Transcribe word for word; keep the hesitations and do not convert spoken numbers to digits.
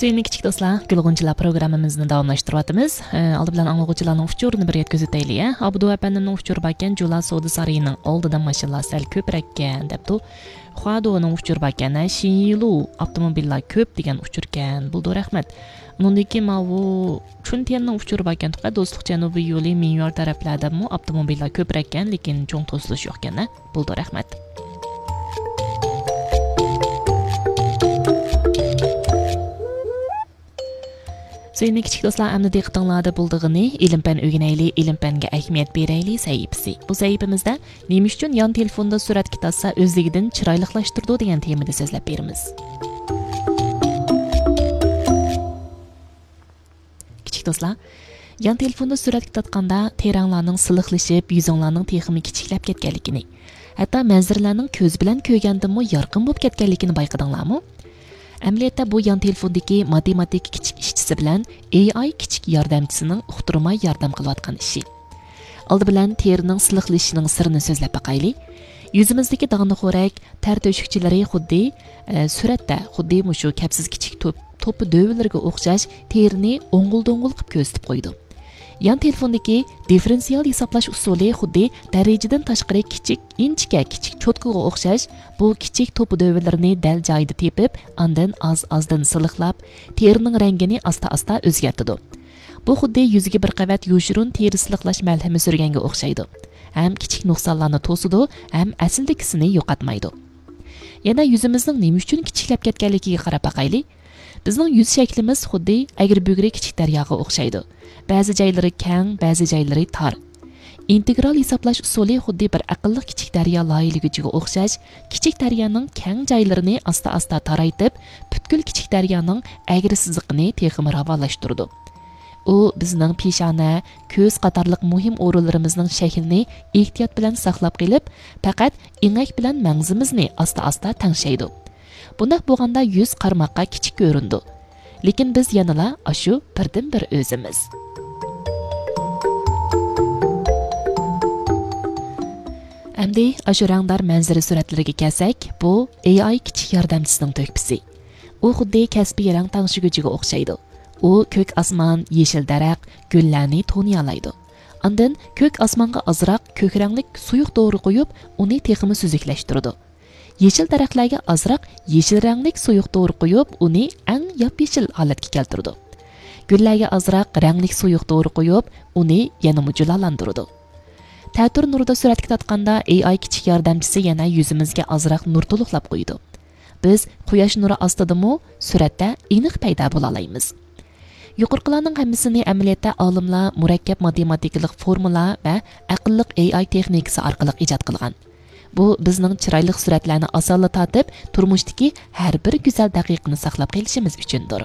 سۆيۈملۈك كىچىك دوستلار، گۈل غۇنچىلار پروگراممىمىزنى داۋاملاشتۇرۇۋاتىمىز. ئە، ئالدى بىلەن ئاڭلىغۇچىلارنىڭ ئۇچۇرىنى بىر يەتكۈزۈۋېتەيلى، ھە. ئابدۇ ئەپەندىمنىڭ ئۇچۇرى باركەن، جۇلا سودا سارىيىنىڭ ئالدىدا ماشىنىلار سەل كۆپرەككەن، دەپتۇ. خۇادۇنىڭ ئۇچۇرى باركەن، ھە، شىنيىلۇ ئاپتوموبىللار كۆپ دېگەن ئۇچۇركەن. بولىدۇ، رەھمەت. ئۇنىڭدىن كېيىن ماۋۇ چۈنتيەننىڭ ئۇچۇرى باركەن، تۇقا، دوستلۇق جەنۇبىي يولى مىنيۇر تەرەپلەردىمۇ ئاپتوموبىللار كۆپرەككەن، لېكىن چوڭ توسۇلۇش يوقكەن، ھە. بولىدۇ، رەھمەت. سۆيۈملۈك كىچىك دوستلار، ئەمدى دىققىتىڭلاردا بولىدىغىنى ئىلىم-پەن ئۆگىنەيلى، ئىلىم-پەنگە ئەھمىيەت بېرەيلى سەھىپىسى. بۇ سەھىپىمىزدە نېمە ئۈچۈن يان تېلېفوندا سۈرەتكە تارتسا ئۆزلۈكىدىن چىرايلىقلاشتۇرىدۇ دېگەن تېمىدا سۆزلەپ بېرىمىز. كىچىك دوستلار، يان تېلېفوندا سۈرەتكە تارتقاندا تېرەڭلارنىڭ سىلىقلىشىپ، يۈزۈڭلارنىڭ تېخىمۇ كىچىكلەپ كەتكەنلىكىنى، ھەتتا مەنزىرىلەرنىڭ كۆز بىلەن كۆرگەندىنمۇ يارقىن بولۇپ كەتكەنلىكىنى بايقىدىڭلارمۇ؟ ئەمەلىيەتتە بۇ يان تېلېفوندىكى ماتېماتىكا كىچىك ئىشچىسى بىلەن ئېي ئاي كىچىك ياردەمچىسىنىڭ ئۇقتۇرماي ياردەم قىلىۋاتقان ئىشى. ئالدى بىلەن تېرىنىڭ سىلىقلىشىشىنىڭ سىرىنى سۆزلەپ باقايلى. يۈزىمىزدىكى داغنە خورەك، تەر تۆشۈكچىلىرى خۇددى، ئە، سۈرەتتە خۇددى مۇشۇ كەپسىز كىچىك توپ، توپا دۆۋىلىرىگە ئوخشاش تېرىنى ئوڭغۇل-دوڭغۇل قىلىپ كۆرسىتىپ قويىدۇ. يان تېلېفوندىكى دىففېرېنسىئال ھېسابلاش ئۇسۇلى خۇددى دەرىجىدىن تاشقىرى كىچىك، ئىنچىكە كىچىك چوتكىغا ئوخشاش، بۇ كىچىك توپا دۆۋىلىرىنى دەل جايىدا تېپىپ، ئاندىن ئاز-ئازدىن سىلىقلاپ، تېرىنىڭ رەڭگىنى ئاستا-ئاستا ئۆزگەرتىدۇ. بۇ خۇددى يۈزىگە بىر قەۋەت يوشۇرۇن تېرە سىلىقلاش مەلھىمى سۈرگەنگە ئوخشايدۇ. ھەم كىچىك نۇقسانلارنى توسىدۇ، ھەم ئەسلىدىكىسىنى يوقاتمايدۇ. يەنە يۈزىمىزنىڭ نېمە ئۈچۈن كىچىكلەپ كەتكەنلىكىگە قاراپ باقايلى. بىزنىڭ يۈز شەكلىمىز خۇددى ئەگرى-بۈگرى كىچىك دەرياغا ئوخشايدۇ. بەزى جايلىرى كەڭ، بەزى جايلىرى تار. ئىنتېگرال ھېسابلاش ئۇسۇلى خۇددى بىر ئەقىللىق كىچىك دەريا لايىھىلىگۈچىگە ئوخشاش، كىچىك دەريانىڭ كەڭ جايلىرىنى ئاستا-ئاستا تارايتىپ، پۈتكۈل كىچىك دەريانىڭ ئەگرى سىزىقىنى تېخىمۇ راۋانلاشتۇرىدۇ. ئۇ بىزنىڭ پېشانە، كۆز قاتارلىق مۇھىم ئورۇنلىرىمىزنىڭ شەكلىنى ئېھتىيات بىلەن ساقلاپ قېلىپ، پەقەت ئېڭەك بىلەن مەڭزىمىزنى ئاستا-ئاستا تەڭشەيدۇ. بۇنداق بولغاندا يۈز قارىماققا كىچىك كۆرۈنىدۇ. لېكىن بىز يەنىلا ئاشۇ بىردىنبىر ئۆزىمىز. ئەمدى ئاشۇ رەڭدار مەنزىرە سۈرەتلىرىگە كەلسەك، بۇ ئېي ئاي كىچىك ياردەمچىسىنىڭ تۆھپىسى. ئۇ خۇددى كەسپىي رەڭ تەڭشىگۈچىگە ئوخشايدۇ. ئۇ كۆك ئاسمان، يېشىل دەرەخ، گۈللەرنى تونۇيالايدۇ. ئاندىن كۆك ئاسمانغا ئازراق كۆك رەڭلىك سۇيۇق دورا قويۇپ، ئۇنى تېخىمۇ سۈزۈكلەشتۈرىدۇ. يېشىل دەرەخلەرگە ئازراق يېشىل رەڭلىك سۇيۇق دورا قويۇپ، ئۇنى ئەڭ ياپيېشىل ھالەتكە كەلتۈرىدۇ. گۈللەرگە ئازراق رەڭلىك سۇيۇق دورا قويۇپ، ئۇنى يەنىمۇ جۇلالاندۇرىدۇ. تەتۈر نۇردا سۈرەتكە تارتقاندا، ئېي ئاي كىچىك ياردەمچىسى يەنە يۈزىمىزگە ئازراق نۇر تولۇقلاپ قويىدۇ. بىز قۇياش نۇرى ئاستىدىمۇ سۈرەتتە ئېنىق پەيدا بولالايمىز. يۇقىرىقىلارنىڭ ھەممىسىنى ئەمەلىيەتتە ئالىملار مۇرەككەپ ماتېماتىكىلىق فورمۇلا ۋە ئەقىللىق ئېي ئاي تېخنىكىسى ئارقىلىق ئىجاد قىلغان. بۇ بىزنىڭ چىرايلىق سۈرەتلەرنى ئاسانلا تارتىپ، تۇرمۇشتىكى ھەر بىر گۈزەل دەقىقىنى ساقلاپ قېلىشىمىز ئۈچۈندۇر.